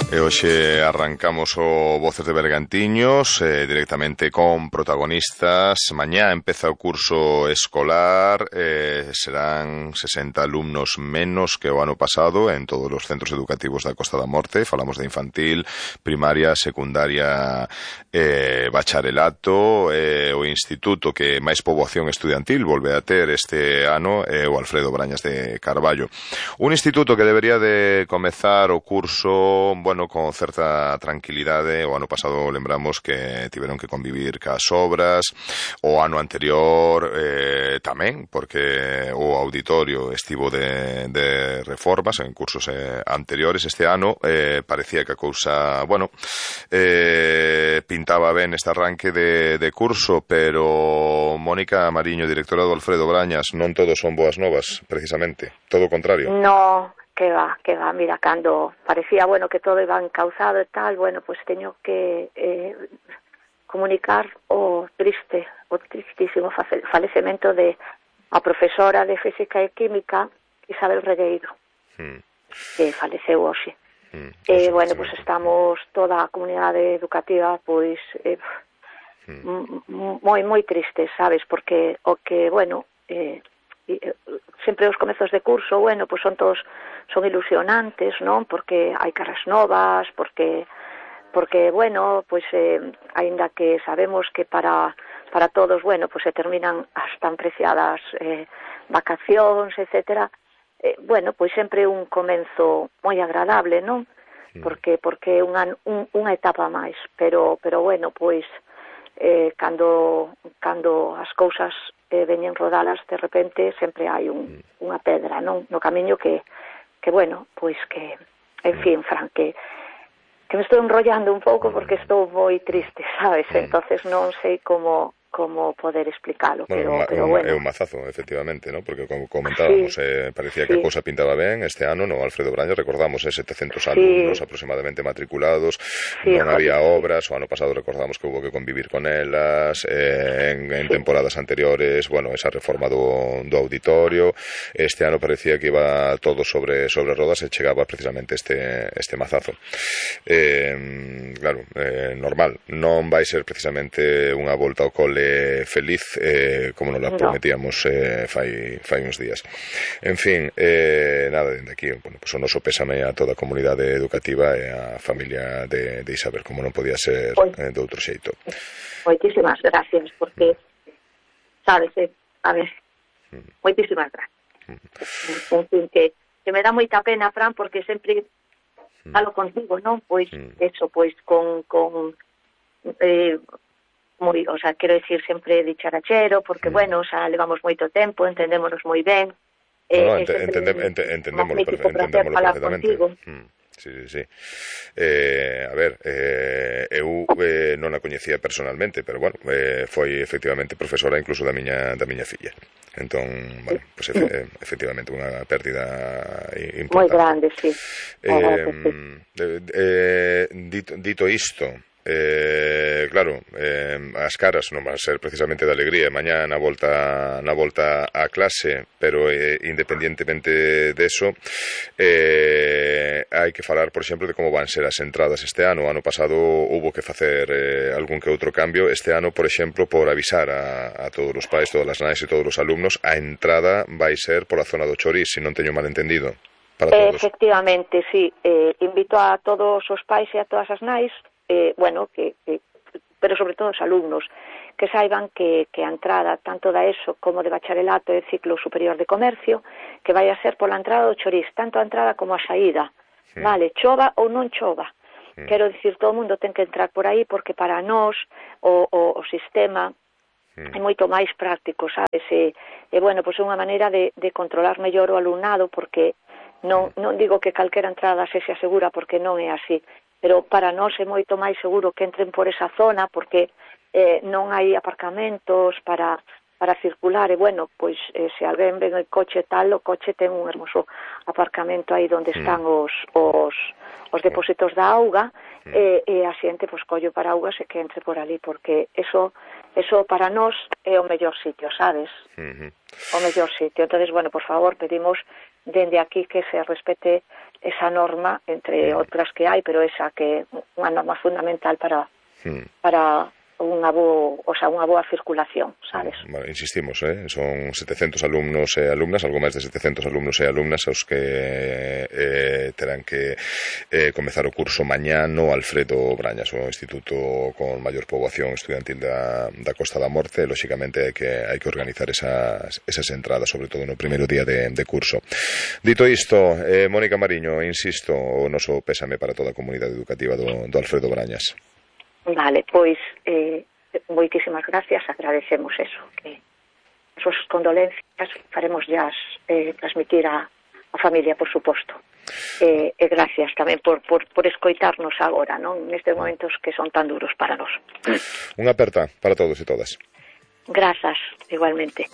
E hoxe arrancamos o Voces de Bergantiños directamente con protagonistas. Mañá empeza o curso escolar, serán 60 alumnos menos que o ano pasado en todos os centros educativos da Costa da Morte. Falamos de infantil, primaria, secundaria, bacharelato. O instituto que máis poboación estudiantil volve a ter este ano é o Alfredo Brañas de Carballo. Un instituto que debería de comezar o curso, con certa tranquilidade. O ano pasado lembramos que tiveron que convivir cas obras, o ano anterior tamén, porque o auditorio estivo de reformas en cursos anteriores. Este ano parecía que a cousa, pintaba ben este arranque de curso, pero Mónica Mariño, directora do Alfredo Brañas, non todos son boas novas, precisamente, todo o contrario. No, que va, mira, cando parecía, que todo iba encauzado e tal, pues teño que comunicar o tristísimo falecemento de a profesora de Física e Química, Isabel Regueiro, que faleceu hoxe. Pues estamos toda a comunidade educativa, moi tristes, sabes, porque sempre os comezos de curso, pues son ilusionantes, non? Porque hai caras novas, porque aínda que sabemos que para todos, pues se terminan as tan preciadas vacacións, etcétera, pues sempre un comenzo moi agradable, non? Porque é unha etapa máis, pero cando as cousas veñen rodalas, de repente sempre hai unha pedra, non? No camiño que en fin, Fran, que me estou enrollando un pouco porque estou moi triste, sabes? Entonces non sei como poder explicalo, pero é un mazazo, efectivamente, ¿no? Porque como comentábamos, parecía que a cousa pintaba ben. Este ano no Alfredo Brañas, recordamos, 700 alumnos aproximadamente matriculados, non había obras. O ano pasado recordamos que hubo que convivir con elas, en temporadas anteriores, esa reforma do auditorio. Este ano parecía que iba todo sobre rodas e chegaba precisamente este mazazo. Claro, normal, non vai ser precisamente unha volta ao cole feliz, como nos la prometíamos fai uns días. En fin, nada, dende aquí, pues o noso pésame a toda a comunidade educativa e a familia de Isabel, como non podía ser de outro xeito. Moitísimas gracias, porque sabes, moitísimas gracias. En fin, que me dá moita pena, Fran, porque sempre falo contigo, non? Quero decir, sempre dicharachero, porque, levamos moito tempo, entendémonos moi ben. Entendémoslo perfectamente. Sí. A ver, eu non a coñecía personalmente, pero foi efectivamente profesora incluso da miña filla. Entón, efectivamente unha pérdida importante. Moi grande, sí. Dito isto, claro, as caras non van a ser precisamente de alegría mañá na volta á clase, pero independientemente deso, hai que falar, por exemplo, de como van ser as entradas este ano. O ano pasado hubo que facer algún que outro cambio. Este ano, por exemplo, por avisar a todos os pais, todas as nais e todos os alumnos, a entrada vai ser pola zona do Chorís, se non teño mal entendido, para todos. Efectivamente, sí. Invito a todos os pais e a todas as nais, pero sobre todo os alumnos, que saiban que a entrada tanto da ESO como de bacharelato e ciclo superior de comercio, que vai a ser pola entrada do Chorís, tanto a entrada como a saída, vale, chova ou non chova. Quero dicir, todo o mundo ten que entrar por aí, porque para nós o sistema é moito máis práctico, sabes? É unha maneira de controlar mellor o alumnado, porque non digo que calquera entrada sexa segura, porque non é así, pero para nós é moito máis seguro que entren por esa zona, porque non hai aparcamentos para circular, e se alguén ven o coche tal, o coche ten un hermoso aparcamento aí onde están os depósitos da auga, e a xente colle o paraugas e que entre por ali, porque eso para nós é o mellor sitio, sabes? O mellor sitio. Entonces, por favor, pedimos dende aquí que se respete esa norma, entre outras que hai, pero esa que é unha norma fundamental para unha boa circulación, sabes? Vale, insistimos, son 700 alumnos e alumnas, algo máis de 700 alumnos e alumnas aos que terán que comezar o curso mañá no Alfredo Brañas, o instituto con maior poboación estudiantil da Costa da Morte. Lóxicamente hai que organizar esas entradas, sobre todo no primeiro día de curso. Dito isto, Mónica Mariño, insisto, o noso pésame para toda a comunidade educativa do Alfredo Brañas. Vale, pois moitísimas gracias, agradecemos eso, que as súas condolencias faremos ya transmitir a familia, por suposto, e gracias tamén por escoitarnos agora, non, nestes momentos que son tan duros para nós. Unha aperta para todos e todas. Grazas, igualmente.